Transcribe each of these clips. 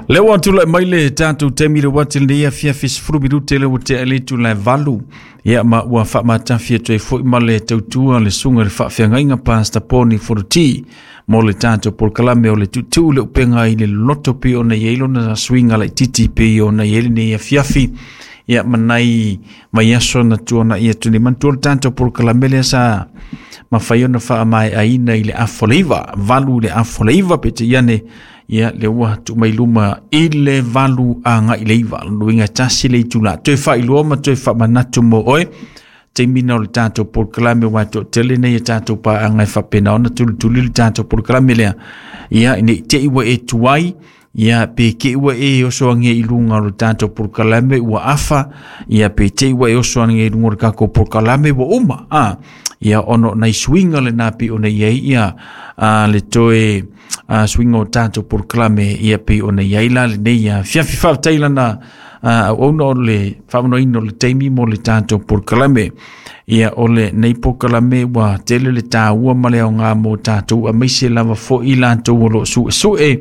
Le ua tulai mai le tatou taimi le ua tele nei afiafi 10 minute le ua tea le itula e 8. Ia ma ua faamatafi atu ai foi ma le tautua le susuga i le faafeagaiga Pastor Poni Foruti mo le tatou polokalame o le tuutuu le upega i le loloto pei ona i ai lona suiga laitiiti pei ona i ai lenei afiafi. Ia ma nai vaiaso na tuanai atu nei. Manatua le tatou polokalame lea sa mafai ona faamaeaina i le afa o le 9, 8 i le afa o le 9, peitai ane ia le ua tuu mai luma i le 8 agai le 9. Lona uiga e tasi le itula. Toe faailoa ma toe faamanatu mo oe taimi na o le tatou polokalame ua toatele nei e tatou paaaga e faapena ona tulituli le tatou polokalame lea. Ia nei te i ua e tuai, ia pe te i ua e oso age i luga o le tatou polokalame ua afa, ia pe te i ua e oso age i luga o le tatou polokalame ua uma. Ia ona o nai suiga lena pei ona i ai ia le toe suiga o tatou polokalame ia pei ona i ai la lenei afiafi. Faafetai lana auauna o le faamanoina o le taimi mo le tatou polokalame. Ia o lenei polokalame ua tele le taua ma le aoga mo tatou aemaise lava foi latou o lo o suesue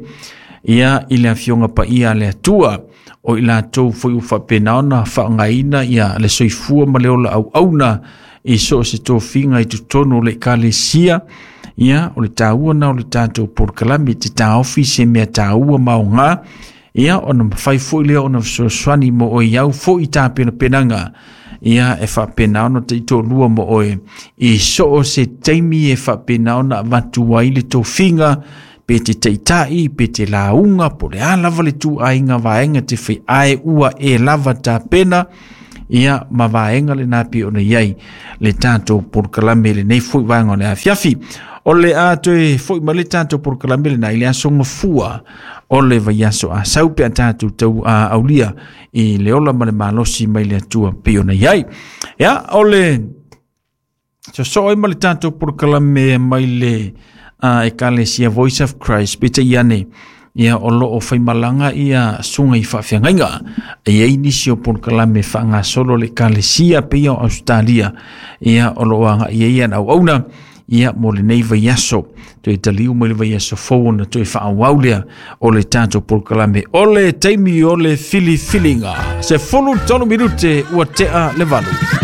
ia i le afioga paia a le Atua, o i latou foi ua faapena ona faaaogaina ia le soifua ma le ola auauna i so o se tofiga i totonu o le ekalesia. Ia o le taua na o le tatou polokalame te taofi se mea taua ma aoga, ia ona mafai foi lea ona fesoasoani mo oe i au foi tapenapenaga, ia e faapena ona taitoalua mo oe i so o se taimi e faapena ona avatu ai le tofiga, pe te taitai, pe te lauga, po o le a lava le ituaiga vaega te fai ae ua e lava tapena, ia ma vaega lena pei ona i ai le tatou polokalame i lenei foi vaega o le afiafi. O le a toe foi mai le tatou polokalame lena i le aso Gafua o le vaiaso a sau pe a tatou tau aulia i le ola ma le malosi mai le Atua pei ona i ai. Ia, o le sosoo ai ma le tatou polokalame mai le Ekalesia Voice of Christ, peitai ane ia o lo o faimalaga ia susuga i faafeagaiga. E i ai nisi o polokalame faagasolo le Ekalesia pei o Australia, ia o lo o agai ai ana auauna ia mo lenei vaiaso. Toe taliu mai le vaiaso fou ona toe faaauau lea o le tatou polokalame. O le taimi o le filifiliga, 13 minute ua tea le 8.